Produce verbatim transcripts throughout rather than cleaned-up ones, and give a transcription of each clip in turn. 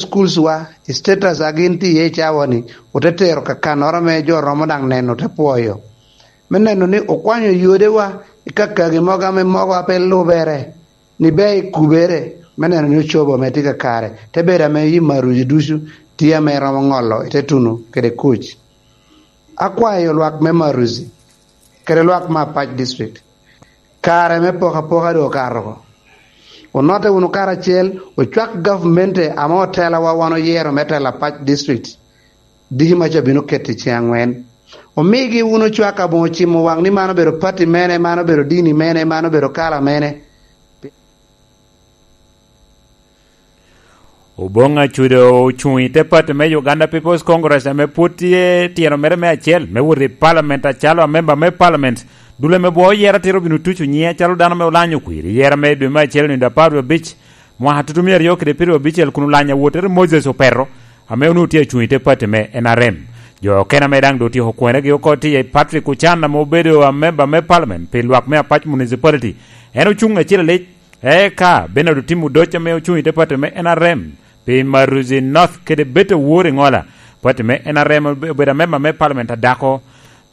schools wa, status a gin tye iye i cawa-ni, ote tero ka kannoro ame jo romo daŋ neno, ote pwoyo. Me neno ni okwanyo yodewa i kakagi mogo ame mogo a pe lubere, ni ber i kubere, me neno ni ocobo ame tye kakare, te bedo ame yi maruci ducu tye ame romo ŋolo i te tuno kede kuc. Akwayo lwak me Maruzi kede lwak me Apac District, kare me poko apoka doŋ okato oko. Onotte wunu karacel, ocwak gavmente ame otelawa wan oyero me telo Apac District. Diki maca bino keto i ceŋ aŋwen. Omigi wunu cwak aboŋo cimo waŋ ni man obedo pati mene, man obedo dini mene, man obedo kala mene. Oboŋ Acudo ocuŋ i te pati me Uganda People's Congress ame pwod tye tyeno mere me acel me wot i palament acalo amemba me palament. Dul ame bwo oyero atiro bino tuco nyiŋe acalo dano ame olanyo kwir i yero me dwe me acel nino apar wie abic, mwaka tutumia aryo kede pyeraryo abicel kun olanyo awotere Moses Opeto, ame onwoŋo tye acuŋ i te pati me N R M. Jo okene ame daŋ doŋ otyeko kwonegi oko tye iye Patrick Ochan ame obedo amemba me palament pi lwak me Apac Municipality. En ocuŋ acel alic. Eka Bernard Otim Odoc ame ocuŋ i te pati me N R M pi Maruzi North kede Beta Wor Iŋola, pati me N R M obedo amemba me palament adako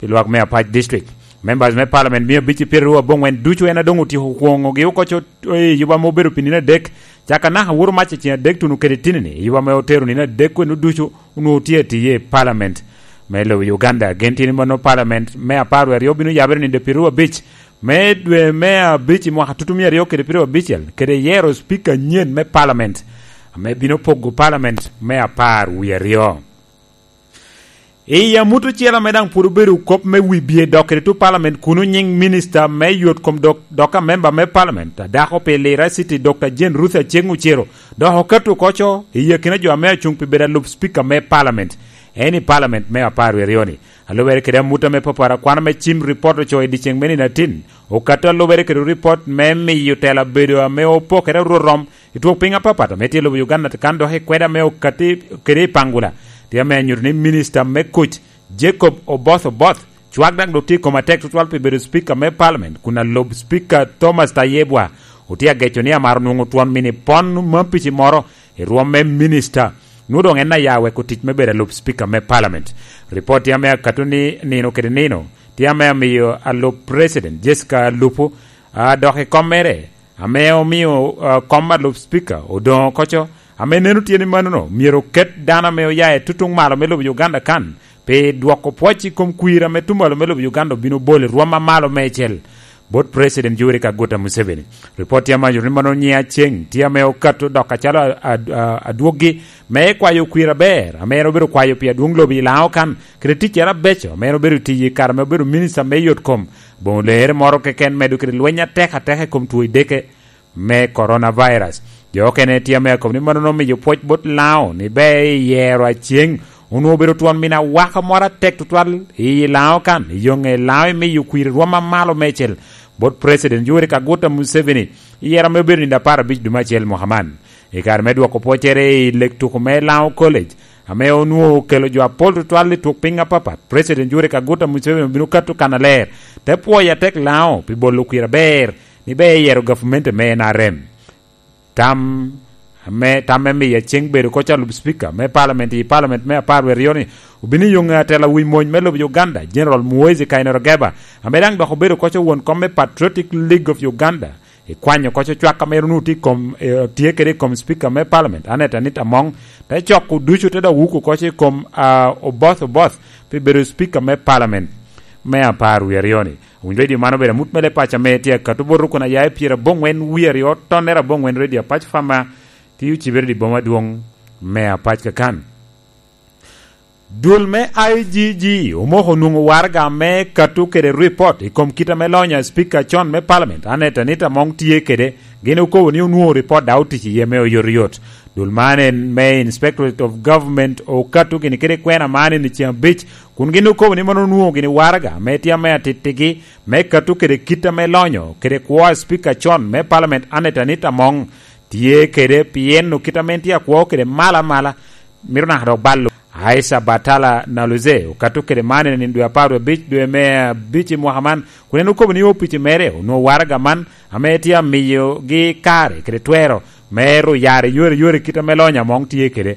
pi lwak me Apac District. Members me palament mia abic i pyeraryo aboŋwen ducu en adoŋ otyeko kwoŋogi oko co-, i yuba ame obedo pi nino adek, caka naka woro mac i ceŋ adek tuno kede tinini, i yuba ame otero nino adek kweno ducu onwoŋo tye atiye i palament me lobo Uganda. Gen tye ni mano palament me apar wie aryo bino yabere nino pyeraryo abic me dwe me abic i mwaka tutumia aryo kede pyeraryo abicel, kede yero cipika anyen me palament, ame bino pogo palament me apar wie aryo. I amut ocele ame daŋ pwod obedo kop me wibye dok kede tu palament kuno, nyiŋ minista me yot kom dok, dok amemba me palament, a dako pi Lira City, Doctor Jane Ruth Aceng Ocero, dok okato oko co i akina jo ame acuŋ pi bedo alub cipika me palament, en i palament me apar wie aryo-ni. A lubere kede amut ame papara, kwan ame cim ripot ocoo i dyeceŋ me nino atin, okato a lubere kede ripot me miyo tela bedo ame opokere orwo rom i twok piny apapat ame tye i lobo Uganda kan, dok i kweda ame okatti kede i Pangula, tye ame anyuto ni minista me kuc Jacob Oboth Oboth cwak daŋ dok tye i kome atek tutwal pi bedo cipika me palament, kun alub cipika Thomas Tayebwa otye ageco ni amaro nwoŋo twon mini pon mapici moro i rwom me minista, nwoŋo doŋ en aya weko tic me bedo alub cipika me palament. Ripot tye ame akato ni nino kede nino tye ame amiyo alub president Jessica Alupo, a, dok i kom mere, ame omio, a, kom alub cipika odoŋo oko co, ame neno tye ni manono myero oket dano ame oya i tutuŋ malo me lobo Uganda kan, pi dwoko pwoc i kom kwir ame tumalo me lobo Uganda obino bolo i rwom amalo meicel bot President Yoweri Kaguta Museveni. Ripot tye ame anyuto ni mano nyiŋ Aceng tye ame okato dok acalo a-, a-, a-, adwoggi me kwayo kwir aber ame en obedo kwayo pi adwoŋ lobo i Laŋo kan, kede ticcere abeco ame en obedo tiyo i kare ame obedo minista me yot kom, boŋo leere moro keken medo kede lweny atek ateka i kom two i deke me coronavirus. Jo okene tye ame akobo ni mano omiyo pwoc bot Laŋo ni ber i yero Aceng onwoŋo obedo twon mini awaka moro atek tutwal i Laŋo kan, i yo ŋe Laŋo imiyo kwir rwom amalo meicel bot President Yoweri Kaguta Museveni i yero ame obedo nino apar abic dwe me acel mwaka man. I kare me dwoko pwoccere i lek tuko me Laŋo College, ame onwoŋo okelo jo apol tutwal i twok piny apapat, President Yoweri Kaguta Museveni obino kato kannaler, te pwoyo atek Laŋo pi bolo kwir aber ni ber eyero gavumenti me N R M. Tam ame, tam me miyo Aceng bedo koc alub cipika me palament i palament me apar wie aryo-ni obino i yoŋe atela wi mony me lobo Uganda, General Muhoozi Kainerugaba, ame daŋ dok obedo koc won kom me Patriotic League of Uganda, i kwanyo koc ocwak ame onwoŋo tye i kom, eh, tye kede i kom cipika me palament, Annet Anita Among, te coko ducu te dok wuko koc i kom, ah, Oboth Oboth pi bedo cipika me palament me apar wie aryo-ni. Awinyo redio man obedo amut me leb paco ame tye akato bot rukun aya i pyeraboŋwen wie aryo tonnere aboŋwen, redio Apac Fama, tye ocibere i boma adwoŋ me Apac kakan. Dul me I G G omoko onwoŋo waraga me kato kede ripot i kom kit ame lonyo a cipika con me palament, Annet Anita Among, tye kede. Gin okobo ni onwoŋo ripot daŋ otic iye me oyotoyot. Dul man en me Inspectorate of Government okato gini kede kwena man i ceŋ abic, kun gin okobo ni mano onwoŋo gini waraga ame tye ame atittigi me kato kede kit ame lonyo kede kwo a cipika con me palament, Annet Anita Among, tye kede, pien okit ame en tye akwo kede malo amala, mito naka dok balo. Aisha Batala Naluze okato kede man i nino dwe apar wie abic dwe me abic i mwaka man, kun en okobo ni opici mere onwoŋo waraga man ame tye amiyogi kare kede twero me ru yare yore yore kit ame lonyo Among tye kede.